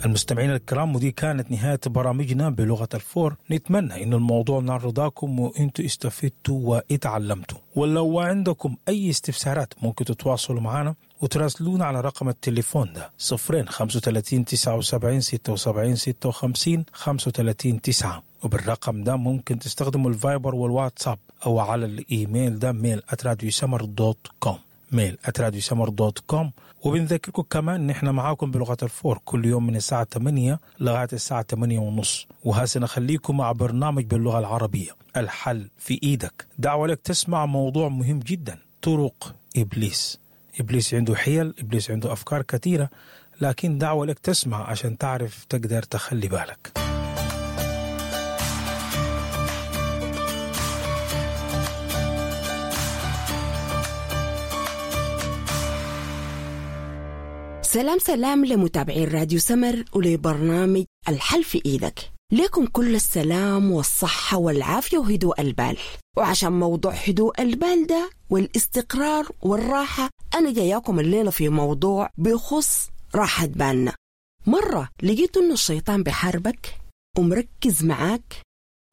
المستمعين الكرام، ودي كانت نهاية برامجنا بلغة الفور. نتمنى إن الموضوع نال رضاكم وإنتوا استفدتوا واتعلمتوا. ولو عندكم أي استفسارات ممكن تتواصلوا معنا وتراسلونا على رقم التليفون ده 0 35 79 76 56 35 9. وبالرقم ده ممكن تستخدموا الفايبر والواتساب أو على الإيميل ده mail@radiosummer.com، mail@radiosummer.com. وبنذكركم كمان نحن معاكم بلغة الفور كل يوم من الساعة 8 لغاية الساعة 8:30. وهسه نخليكم مع برنامج باللغة العربية الحل في إيدك. دعوة لك تسمع موضوع مهم جدا، طرق إبليس. إبليس عنده حيل، إبليس عنده أفكار كثيرة، لكن دعوة لك تسمع عشان تعرف تقدر تخلي بالك. سلام سلام لمتابعين راديو سمر ولبرنامج الحل في إيدك. لكم كل السلام والصحة والعافية وهدوء البال. وعشان موضوع هدوء البال ده والاستقرار والراحة، أنا جاياكم الليلة في موضوع بيخص راحة بالنا. مرة لقيت إنه الشيطان بحاربك ومركز معاك،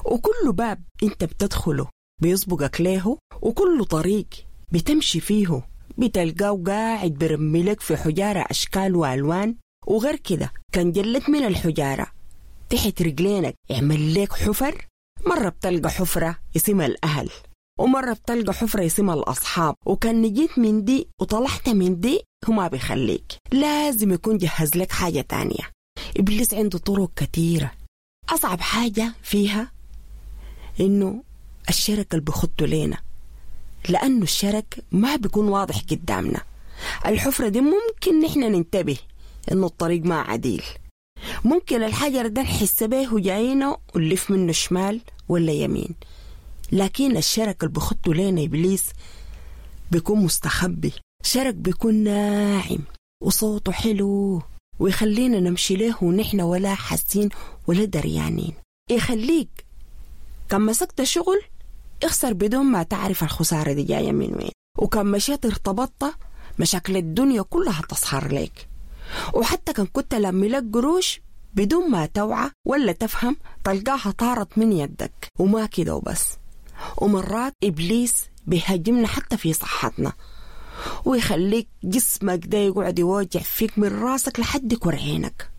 وكل باب أنت بتدخله بيسبقك له، وكل طريق بتمشي فيه بتلقاه قاعد برملك في حجارة أشكال وألوان. وغير كده كان جلت من الحجارة تحت رجلينك يعمل لك حفر. مرة بتلقى حفرة اسمها الأهل، ومرة بتلقى حفرة اسمها الأصحاب، وكان نجيت من دي وطلعت من دي هما بيخليك لازم يكون جهز لك حاجة تانية. إبليس عنده طرق كثيرة. أصعب حاجة فيها إنه الشرك اللي بيخطه لينا، لأنه الشرك ما بيكون واضح قدامنا. الحفرة دي ممكن نحن ننتبه إنه الطريق ما عديل، ممكن الحجر ده نحس به جاينا ونلف منه شمال ولا يمين، لكن الشرك اللي بخطه لنا إبليس بيكون مستخبي. شرك بيكون ناعم وصوته حلو ويخلينا نمشي له ونحن ولا حاسين ولا دريانين. يخليك كان مسكت شغل اخسر بدون ما تعرف الخسارة دي جاية من وين، وكان مشيت ارتبطت مشاكل الدنيا كلها تظهر لك. وحتى كان كنت لما لك قروش بدون ما توعى ولا تفهم تلقاها طارت من يدك. وما كده وبس، ومرات إبليس بيهاجمنا حتى في صحتنا ويخليك جسمك ده يقعد يوجع فيك من راسك لحد كرعينك،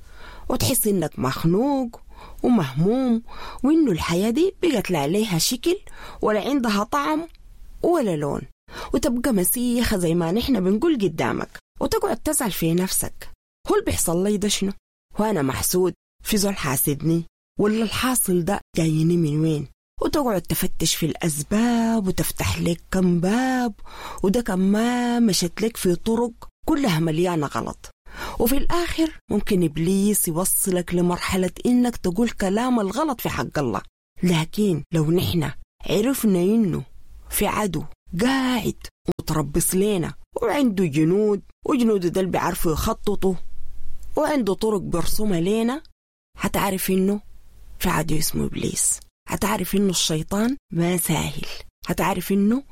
وتحس إنك مخنوق ومهموم، وإنه الحياة دي بقت لا عليها شكل ولا عندها طعم ولا لون، وتبقى مسيخة زي ما نحن بنقول قدامك، وتقعد تسأل في نفسك هو اللي بيحصل لي ده شنو؟ وأنا محسود؟ في زول حاسدني؟ ولا الحاصل ده جايني من وين؟ وتقعد تفتش في الأسباب وتفتح لك كم باب، وده كم ما مشت لك في طرق كلها مليانة غلط. وفي الآخر ممكن إبليس يوصلك لمرحلة إنك تقول كلام الغلط في حق الله. لكن لو نحن عرفنا إنه في عدو قاعد ومتربص لنا وعنده جنود، وجنوده ده اللي بيعرفوا يخططوا وعنده طرق برسومها لنا، هتعرف إنه في عدو اسمه إبليس، هتعرف إنه الشيطان ما ساهل، هتعرف إنه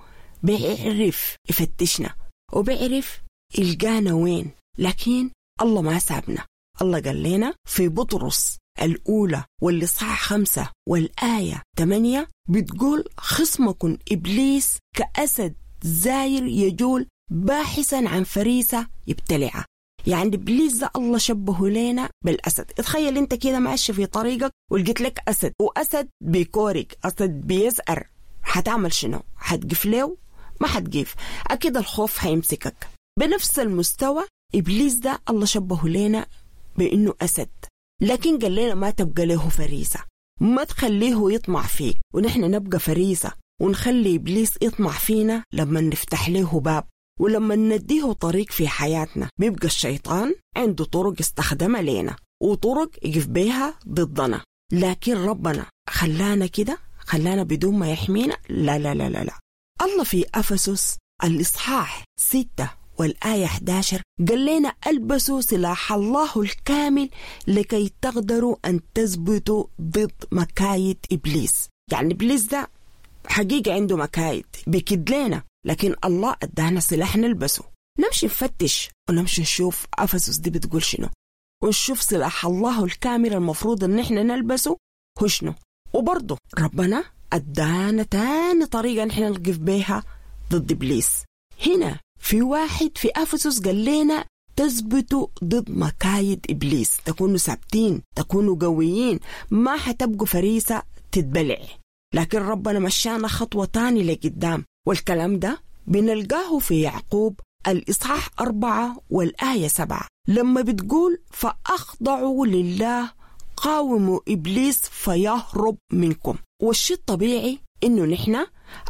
بيعرف يفتشنا وبيعرف يلقانا وين. لكن الله ما سابنا. الله قال لنا في بطرس الأولى والإصحاح 5 والآية 8 بتقول خصمكم إبليس كأسد زاير يجول باحثا عن فريسة يبتلعها. يعني إبليس ده الله شبهه لنا بالأسد. اتخيل انت كده ماشي في طريقك ولقيت لك أسد، وأسد بيكورك، أسد بيزأر، هتعمل شنو؟ هتقف له؟ ما هتقف، أكيد الخوف هيمسكك. بنفس المستوى إبليس ده الله شبهه لنا بإنه أسد، لكن قال لنا ما تبقى له فريسة، ما تخليه يطمع فيك، ونحن نبقى فريسة ونخلي إبليس يطمع فينا لما نفتح له باب ولما نديه طريق في حياتنا. بيبقى الشيطان عنده طرق استخدمها لنا وطرق يقف بيها ضدنا، لكن ربنا خلانا كده، خلانا بدون ما يحمينا؟ لا لا لا لا لا. الله في أفسس الإصحاح 6 والآية 11 قال لنا ألبسوا سلاح الله الكامل لكي تقدروا أن تثبتوا ضد مكايد إبليس. يعني إبليس ده حقيقة عنده مكايد بيكد لنا، لكن الله أدانا سلاح نلبسه. نمشي نفتش ونمشي نشوف أفسس دي بتقول شنو. ونشوف سلاح الله الكامل المفروض إن إحنا نلبسه هو شنو. وبرضه ربنا أدانا تاني طريقة نحن نقف بيها ضد إبليس. هنا في واحد في أفسس قال لنا تثبتوا ضد مكايد إبليس، تكونوا ثابتين، تكونوا قويين، ما حتبقوا فريسة تتبلع. لكن ربنا مشانا خطوة تاني لقدام، والكلام ده بنلقاه في يعقوب الإصحاح 4 والآية 7 لما بتقول فأخضعوا لله قاوموا إبليس فيهرب منكم. والشيء الطبيعي إنه نحن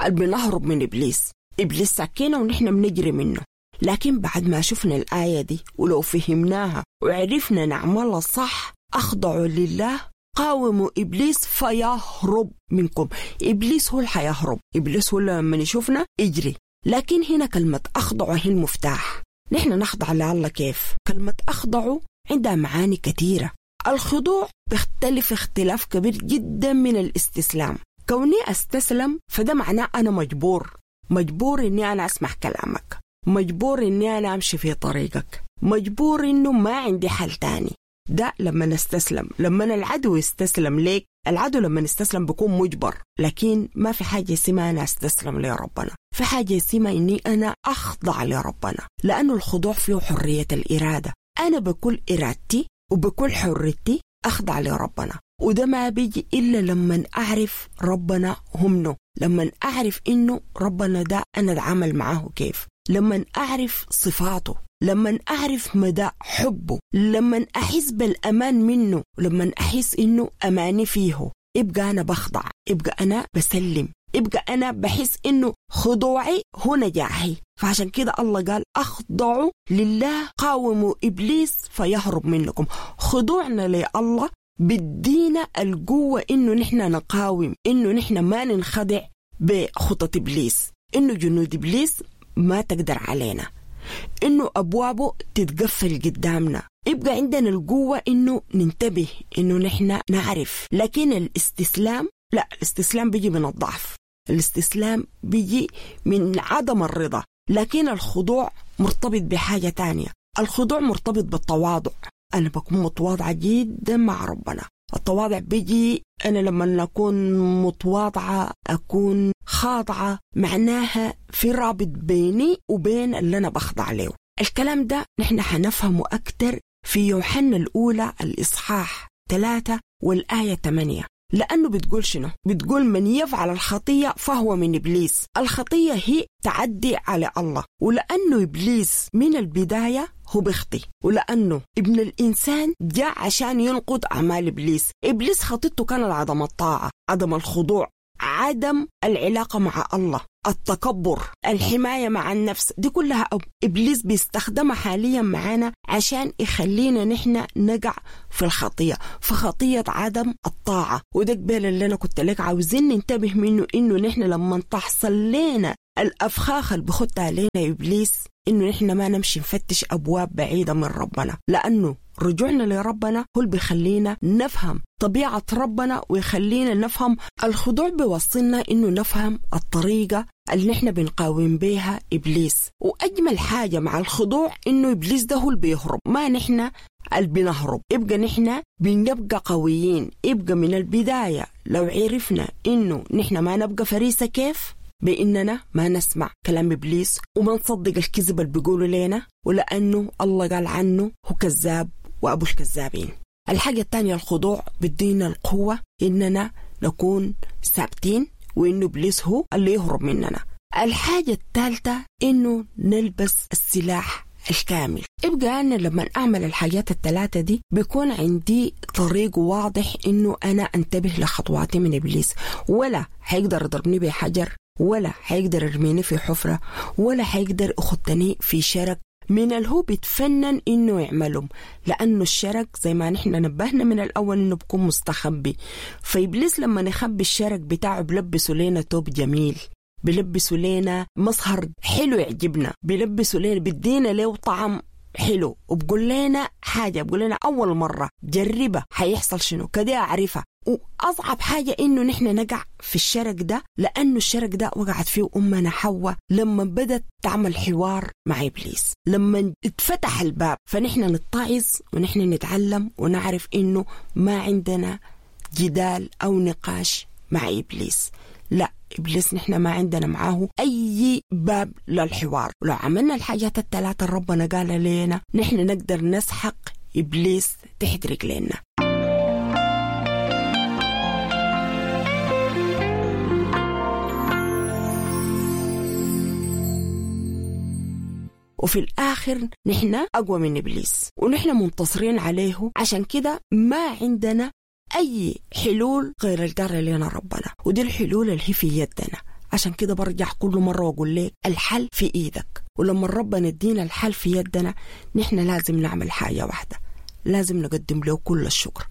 بنهرب من إبليس، إبليس ساكينة ونحن بنجري منه. لكن بعد ما شفنا الآية دي ولو فهمناها وعرفنا نعملها صح، أخضعوا لله قاوموا إبليس فيهرب منكم. إبليس هو اللي حيهرب، إبليس هو لما يشوفنا يجري. لكن هنا كلمة أخضعوا هي المفتاح. نحن نخضع لله كيف؟ كلمة أخضعوا عندها معاني كثيرة. الخضوع بيختلف اختلاف كبير جدا من الاستسلام. كوني أستسلم فده معناه أنا مجبور، مجبور إني أنا أسمع كلامك، مجبور إني أنا أمشي في طريقك، مجبور إنه ما عندي حل تاني. ده لما نستسلم، لما العدو يستسلم ليك، العدو لما نستسلم بيكون مجبر. لكن ما في حاجة اسمها أنا أستسلم لربنا، في حاجة اسمها إني أنا أخضع لربنا، لأنه الخضوع فيه حرية الإرادة. أنا بكل إرادتي وبكل حريتي أخضع لربنا، وده ما بيجي إلا لما أعرف ربنا همنه، لما أعرف إنه ربنا ده أنا أتعامل معاه كيف، لما أعرف صفاته، لما أعرف مدى حبه، لما أحس بالأمان منه، لما أحس إنه أماني فيه، يبقى أنا بخضع، يبقى أنا بسلم، يبقى أنا بحس إنه خضوعي هو نجاحي. فعشان كده الله قال أخضعوا لله قاوموا إبليس فيهرب منكم. خضوعنا لله بدينا القوة إنه نحن نقاوم، إنه نحن ما ننخدع بخطط إبليس، إنه جنود إبليس ما تقدر علينا، إنه أبوابه تتقفل قدامنا. يبقى عندنا القوة إنه ننتبه، إنه نحن نعرف. لكن الاستسلام لا، الاستسلام بيجي من الضعف، الاستسلام بيجي من عدم الرضا. لكن الخضوع مرتبط بحاجة تانية، الخضوع مرتبط بالتواضع. أنا بكون متواضعة جدا مع ربنا. التواضع بيجي أنا لما أكون متواضعة، أكون خاضعة، معناها في رابط بيني وبين اللي أنا بخضع له. الكلام ده نحن حنفهمه أكتر في يوحنا الأولى الإصحاح 3 والآية 8، لأنه بتقول شنو؟ بتقول من يفعل الخطية فهو من إبليس. الخطية هي تعدي على الله، ولأنه إبليس من البداية هو بيخطي، ولأنه ابن الإنسان جاء عشان ينقض أعمال إبليس. إبليس خطيته كانت عدم الطاعة، عدم الخضوع، عدم العلاقة مع الله، التكبر، الحماية مع النفس، دي كلها إبليس بيستخدمها حاليا معانا عشان يخلينا نحن نقع في الخطية، في خطية عدم الطاعة. وده قبل اللي أنا كنت لك عاوزين ننتبه منه، إنه نحن لما تحصل لنا الأفخاخ اللي بخطها علينا إبليس، إنه نحن ما نمشي نفتش أبواب بعيدة من ربنا، لأنه رجوعنا لربنا هو اللي بيخلينا نفهم طبيعة ربنا ويخلينا نفهم الخضوع. بيوصلنا إنه نفهم الطريقة اللي نحن بنقاوم بيها إبليس. وأجمل حاجة مع الخضوع إنه إبليس ده هو اللي بيهرب، ما نحن اللي بنهرب. يبقى نحن بنبقى قويين. يبقى من البداية لو عرفنا إنه نحن ما نبقى فريسة كيف؟ بإننا ما نسمع كلام إبليس وما نصدق الكذب اللي بيقولوا لنا، ولأنه الله قال عنه هو كذاب وأبو الكذابين. الحاجة الثانية الخضوع بدينا القوة إننا نكون ثابتين، وإنه إبليس هو اللي يهرب مننا. الحاجة الثالثة إنه نلبس السلاح الكامل. يبقى أنا لما أعمل الحاجات الثلاثة دي بيكون عندي طريق واضح إنه أنا أنتبه لخطواتي من إبليس، ولا حيقدر يضربني بحجر، ولا حيقدر يرميني في حفرة، ولا حيقدر يخطني في شرك من الهو بيتفنن إنه يعملهم، لأنه الشرك زي ما نحن نبهنا من الأول إنه بيكون مستخبي. فإبليس لما نخبي الشرك بتاعه بلبسه لنا توب جميل، بلبسه لنا مظهر حلو يعجبنا، بلبسه لنا، بدينا له طعم حلو وبقول لنا حاجة، بقول لنا أول مرة جربها حيحصل شنو كده أعرفها. وأصعب حاجة إنه نحن نقع في الشرك ده، لأنه الشرك ده وقعت فيه أمنا حواء لما بدت تعمل حوار مع إبليس، لما اتفتح الباب. فنحن نتعظ ونحن نتعلم ونعرف إنه ما عندنا جدال أو نقاش مع إبليس. لا، إبليس نحن ما عندنا معاه أي باب للحوار. ولو عملنا الحاجات الثلاثة ربنا قال لنا نحن نقدر نسحق إبليس تحت رجلينا. وفي الآخر نحن أقوى من إبليس ونحن منتصرين عليه. عشان كده ما عندنا أي حلول غير القال لنا ربنا، ودي الحلول اللي هي في يدنا. عشان كده برجع كل مرة وأقول لك الحل في إيدك. ولما ربنا يدينا الحل في يدنا نحن لازم نعمل حاجة واحدة، لازم نقدم له كل الشكر.